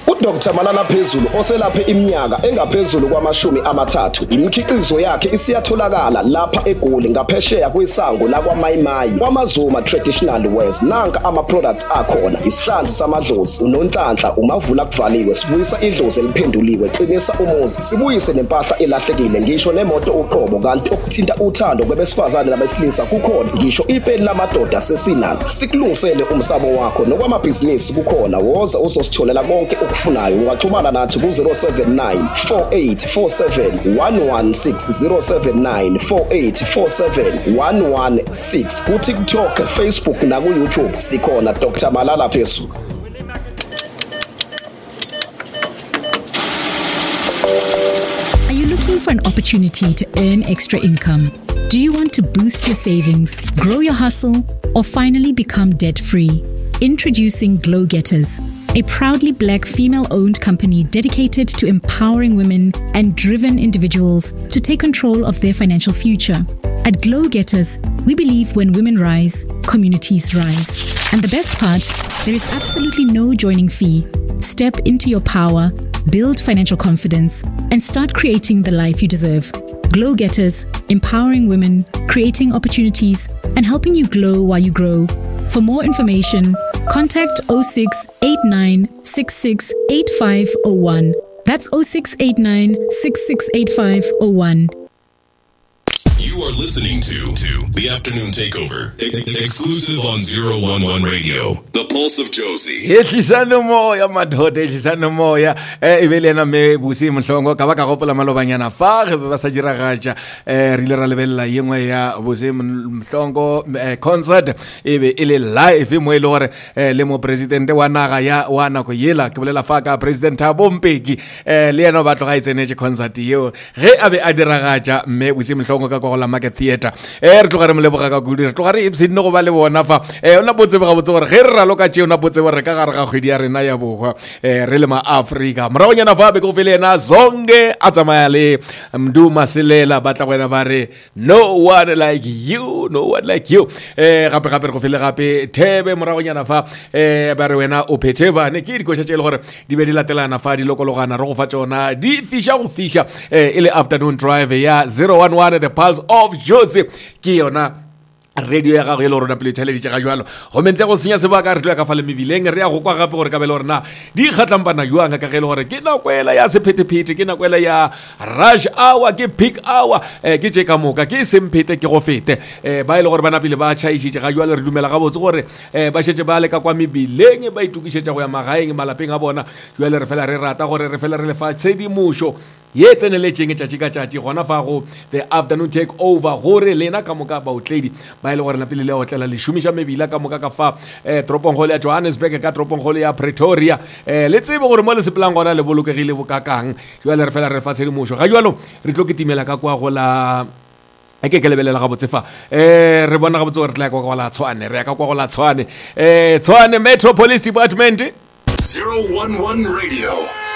UDr Malala Phezulu oselaphe iminyaka engaphezulu kwamashumi amathathu. Imikhiqizo yakhe isiyatholakala lapha eGoli ngaphesheya kwesango lakwaMayimayi kwaMazuma Traditional Wears. Nanka ama-products akhona: isihlanzi samadlozi, unonhlanhla, umavula kuvaliwe, sibuyisa idlozi eliphenduliwe, qinisa umuzi, sibuyise nempahla elahlekile, ngisho nemoto uqobo. Kanti okuthinta uthando kwebesifazane nabesilisa kukhona, ngisho ipeni lamadoda sesinalo. Sikulungisele umsamo wakho nokwamabhizinisi kukhona. Woza uzositholela konke okufunayo. Ungaxhumana nathi ku-079 4847 116, 079 4847 116. Ku-TikTok, Facebook naku-YouTube sikhona, Dr Malala Phezulu. Are you looking for an opportunity to earn extra income? Do you want to boost your savings, grow your hustle, or finally become debt free? Introducing Glow Getters, a proudly black female owned company dedicated to empowering women and driven individuals to take control of their financial future. At Glow Getters, we believe when women rise, communities rise. And the best part, there is absolutely no joining fee. Step into your power, build financial confidence, and start creating the life you deserve. Glow Getters, empowering women, creating opportunities, and helping you glow while you grow. For more information, contact 0689 668501. That's 0689 668501. You are listening to The Afternoon Takeover, exclusive on 011 Radio, The Pulse of Josie. Ehlisane moya madoda, ehlisane moya. E be le yena mme Busi Mohlongo ka ba ka gopola malobanyana fa ge be ba sa diragatša. Re ile ra lebelela ye nngwe ya Busi Mhlongo concert, e be e le live mo e le gore le mopresidente wa naga ya wa nako yela, ke bolela fa ka President Thabo Mbeki, le yena ba tloga e tsenetše concert yeo ge a be a diragatša mme Busi Mhlongo ka kwa go la Market Theatre. Re tloga re mo leboga ka kudu, re tloga re ipshinne go ba le bona fa. O na botsebe gabotse gore ge re raloka tšeo, na botsebe gore ka gare ga kgwedi ya rena ya bohwa re le maafrika. Moragonyana fa be ke go fele yena Zonke a tsamaya le Mdu Masilela, ba tla go wena ba re no one like you, no one like you. Gape gape re go fele gape Thebe moragonyana fa, ba re wena o phethe bane. Ke dikoša tše e le gore di be di latelana fa, di lokologana, re go fa tšona di fiša go fiša. E le Afternoon Drive ya 011, The Pulse of Jozi, ke yona radio ya gago e le gore pele theleditše ga jalo. Gomme ntle go senya sebaka, re tlo ya ka fa le mebileng, re ya go kwa gape gore ka bele gore na di kgatlampana jwang, ka ge e le gore ke nako ela ya sephethephethe, ke nako ela ya rush hour, ke peak hour. Ke tše ka moka ke semphete ke go fete. Ba e le gore ba napile ba tšhaišitše ga jalo, re dumela gabotse gore ba šetše ba le ka kwa mebileng, ba itokišetša go ya magaeng, malapeng a bona. Jale re fela re rata gore re fela re lefa tshedimošo ye tseneletšeng tšatši ka tšatši gona fa go The Afternoon Take Over, gore lena ka moka baotledi ba e le gore napile le otlela le šomiša mebila ka moka ka fa toropongkgolo ya Johannesburg, ka toropongkgolo ya Pretoria, le tsebe gore mo le sepelang gona le bolokegile bokakang. Jale re fela re fa tshedimošo ga jalo, re tlo ketimela ka kwa go la ke ke lebelela gabotse fa. Re bona gabotse gore re tla ya kwa go la Tshwane, re ya ka kwa go la Tshwane, Tshwane Metro Police Department. 011 Radio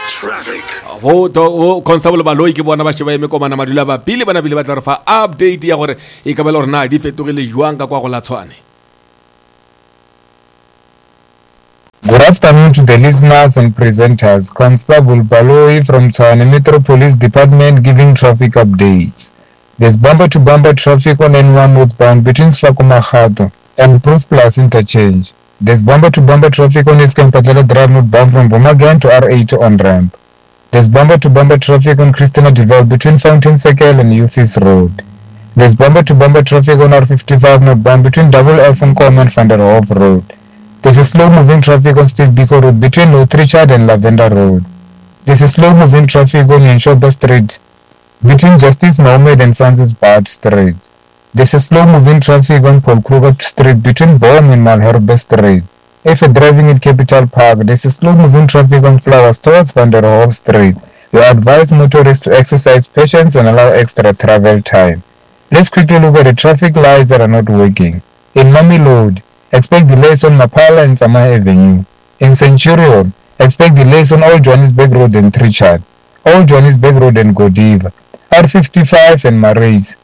Traffic. Bo Constable Baloi ke bona ba šeba eme komana madula ba pele, ba nabile ba tla re fa update ya gore e ka ba le gore na di fetogile jwang ka kwa go la Tshwane. Good afternoon to the listeners and presenters. Constable Baloi from Tshwane Metro Police Department giving traffic updates. There's bumper-to-bumper traffic on N1 northbound between Sefako Makgatho and Proof Plus interchange. There's bumper-to-bumper traffic on SK Mphatlala Drive northbound from Bomagan to R80 on-ramp. There's bumper-to-bumper traffic on Christina Devel between Fountain Circle and Ufis Road. There's bumper-to-bumper traffic on R55 northbound between Double F Nkomo and Van der Hoff Road. There's a slow-moving traffic on Steve Biko Road between North Richard and Lavender Road. There's a slow-moving traffic on Yenshoba Street between Justice Mohammed and Francis Bart Street. There's a slow-moving traffic on Paul Kruger Street between Boom and Malherbe Street. If you're driving in Capital Park, there's a slow-moving traffic on Flowers towards Van der Hoff Street. We advise motorists to exercise patience and allow extra travel time. Let's quickly look at the traffic lights that are not working. In Mamelodi, expect delays on Maphala and Tsamaya Avenue. In Centurion, expect delays on Old Johannesburg Road and Trichardt, Old Johannesburg Road and Godiva, R55 and Marais.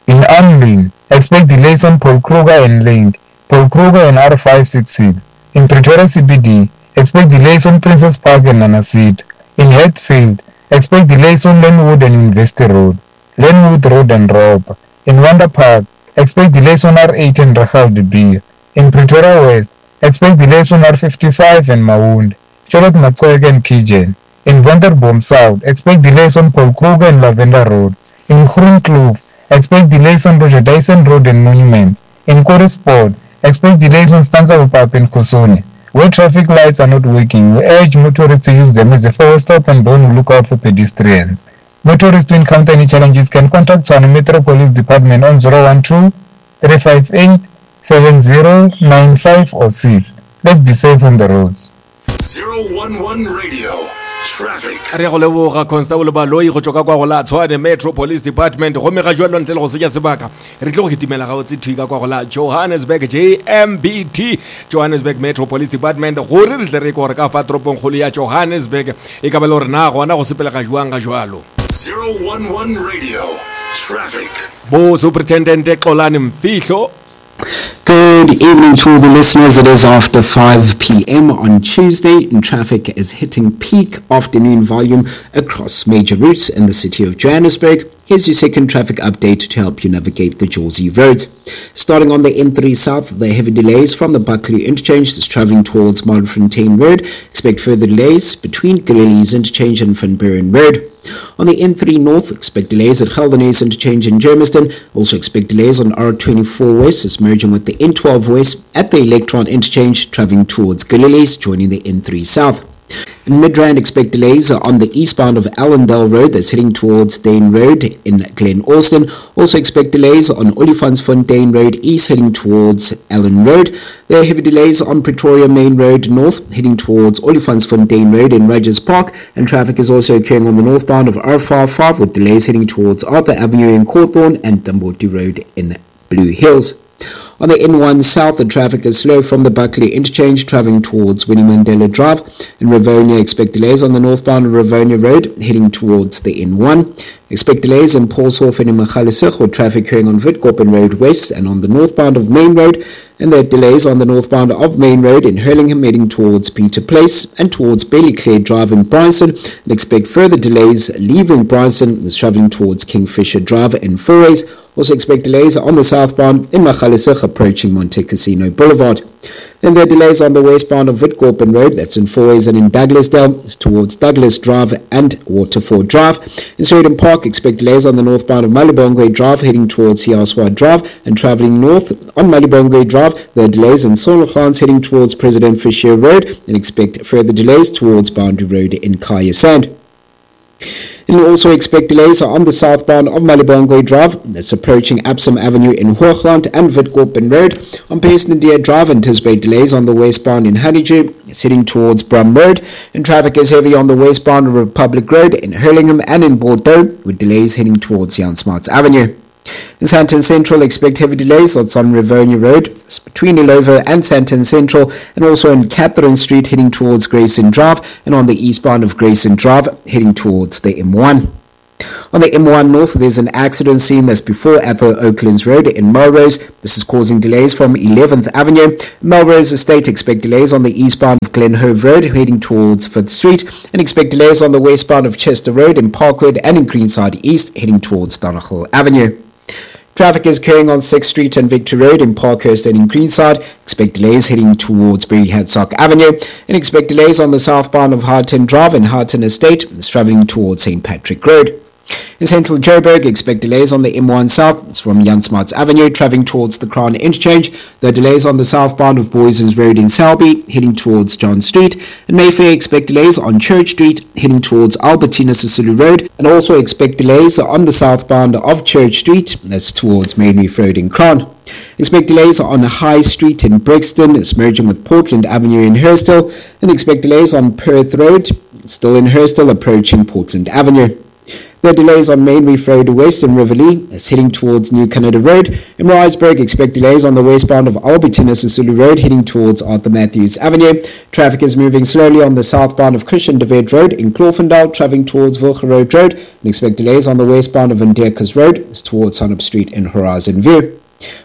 In Amlin, expect delays on Paul Kruger and Link, Paul Kruger and R566. In Pretoria CBD, expect delays on Princess Park and Nanasita. In Hatfield, expect delays on Lenwood and University Road, Lenwood Road and Ropa. In Wonder Park, expect delays on R8 and Rachel de Beer. In Pretoria West, expect delays on R55 and Maund, Charlotte Maxeke and Pigeon. In Wonderboom South, expect delays on Paul Kruger and Lavender Road. In Groenkloof, expect delays on Roger Dyson Road and Monument. In Korispoort, expect delays on Stanza Pap and Kosone. Where traffic lights are not working, we urge motorists to use them as a forward stop and don't look out for pedestrians. Motorists who encounter any challenges can contact Tshwane Metro Police Department on 012 358 7095 or 6. Let's be safe on the roads. 011 Radio. Traffic. Re go leboga Constable Baloyi go tšwa ka kwa go la Tshwane Metro Police Department. Gomme ga jwalo ntle le go senya sebaka, re tlo go kitimela gabotse thwi ka kwa go la Johannesburg JMBT, Johannesburg Metro Police Department, gore re tle re kwe gore ka fa toropongkgolo ya Johannesburg e ka ba le gore na gona go sepelega jwang ga jwalo. 011 Radio. Traffic. Bo Superintendent Xolani Mfihlo. Good evening to all the listeners. It is after 5 p.m. on Tuesday, and traffic is hitting peak afternoon volume across major routes in the city of Johannesburg. Here's your second traffic update to help you navigate the Jozi roads. Starting on the N3 South, the heavy delays from the Buccleuch interchange is traveling towards Modderfontein Road. Expect further delays between Gillooly's interchange and Van Buren Road. On the N3 North, expect delays at Geldenhuys interchange in Germiston. Also expect delays on R24 West, is merging with the N12 West at the Electron interchange, traveling towards Gillooly's, joining the N3 South. In Midrand, expect delays on the eastbound of Allendale Road that's heading towards Dane Road in Glen Austin. Also expect delays on Olifantsfontein Road East heading towards Allen Road. There are heavy delays on Pretoria Main Road North heading towards Olifantsfontein Road in Rogers Park, and traffic is also occurring on the northbound of R55 with delays heading towards Arthur Avenue in Cawthorne and Tamboti Road in Blue Hills. On the N1 South, the traffic is slow from the Buccleuch interchange, traveling towards Winnie Mandela Drive. In Rivonia, expect delays on the northbound of Rivonia Road, heading towards the N1. Expect delays in Paulshof and in Magaliesig, with traffic occurring on Witkoppen Road West and on the northbound of Main Road. And there are delays on the northbound of Main Road in Hurlingham, heading towards Peter Place and towards Ballyclare Drive in Bryanston. And expect further delays leaving Bryanston, is traveling towards Kingfisher Drive in Fourways. Also expect delays on the southbound in Magaliesig, approaching Monte Casino Boulevard. Then there are delays on the westbound of Witkoppen Road, that's in Fourways and in Douglasdale, it's towards Douglas Drive and Waterfall Drive. In Sheridan Park, expect delays on the northbound of Malibongwe Drive, heading towards Siaswa Drive, and traveling north on Malibongwe Drive. There are delays in Sologans, heading towards President Fisher Road, and expect further delays towards Boundary Road in Kya Sand. And also expect delays on the southbound of Malibongwe Drive, that's approaching Epsom Avenue in Hoogland and Witkoppen Road. On Peace Drive, anticipate delays on the westbound in Honeydew, it's heading towards Brum Road. And traffic is heavy on the westbound of Republic Road in Hurlingham and in Bordeaux, with delays heading towards Jan Smuts Avenue. In Sandton Central, expect heavy delays on Rivonia Road, between Illovo and Sandton Central, and also in Catherine Street heading towards Grayson Drive, and on the eastbound of Grayson Drive heading towards the M1. On the M1 North, there's an accident scene that's before Athol Oaklands Road in Melrose. This is causing delays from 11th Avenue. Melrose Estate, expect delays on the eastbound of Glenhove Road heading towards 5th Street, and expect delays on the westbound of Chester Road in Parkwood and in Greenside East heading towards Donegal Avenue. Traffic is occurring on 6th Street and Victory Road in Parkhurst and in Greenside. Expect delays heading towards Berry Hadsock Avenue, and expect delays on the southbound of Harton Drive and Harton Estate. It's traveling towards St. Patrick Road. In central Joburg, expect delays on the M1 South. It's from Jan Smuts Avenue, traveling towards the Crown Interchange. There are delays on the southbound of Booysens Road in Selby, heading towards John Street. In Mayfair, expect delays on Church Street, heading towards Albertina Sisulu Road. And also expect delays on the southbound of Church Street, that's towards Main Reef Road in Crown. Expect delays on High Street in Brixton, it's merging with Portland Avenue in Hurstville. And expect delays on Perth Road, still in Hurstville, approaching Portland Avenue. There are delays on Main Reef Road West in Riverlea, as heading towards New Canada Road. In Maritzburg, expect delays on the westbound of Albertina Sisulu Road, heading towards Arthur Matthews Avenue. Traffic is moving slowly on the southbound of Christian de Wet Road in Kloofendal, traveling towards Wilgerood Road, and expect delays on the westbound of Vanderkas Road, as towards Sunup Street in Horizon View.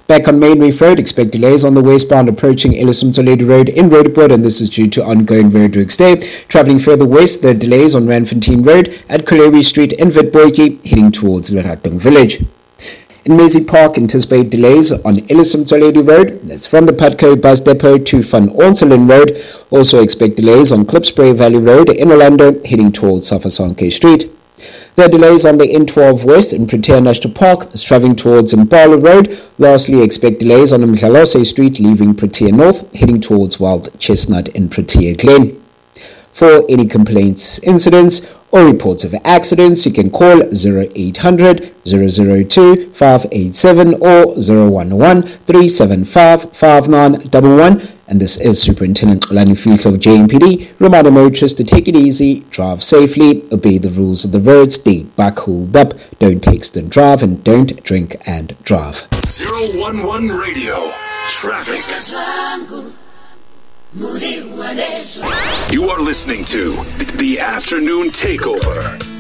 Back on Main Reef Road, expect delays on the westbound approaching Ellis Motsoaledi Road in Roodepoort, and this is due to ongoing roadworks there. Travelling further west, there are delays on Randfontein Road at Colliery Street in Witpoortjie, heading towards Leratong Village. In Maisie Park, anticipate delays on Ellis Motsoaledi Road. That's from the Putco Bus Depot to Van Onselen Road. Also expect delays on Klipspruit Valley Road in Orlando, heading towards Safasonke Street. There are delays on the N12 West in Protea National Park, that's traveling towards Impala Road. Lastly, expect delays on Mdlalose Street, leaving Protea North, heading towards Wild Chestnut in Protea Glen. For any complaints, incidents, or reports of accidents, you can call 0800 002 587 or 011 375 5911. And this is Superintendent Lani Fihlo of JMPD, reminding motorists to take it easy, drive safely, obey the rules of the road, stay buckled up, don't text and drive, and don't drink and drive. 011 Radio. Traffic. You are listening to The Afternoon Takeover.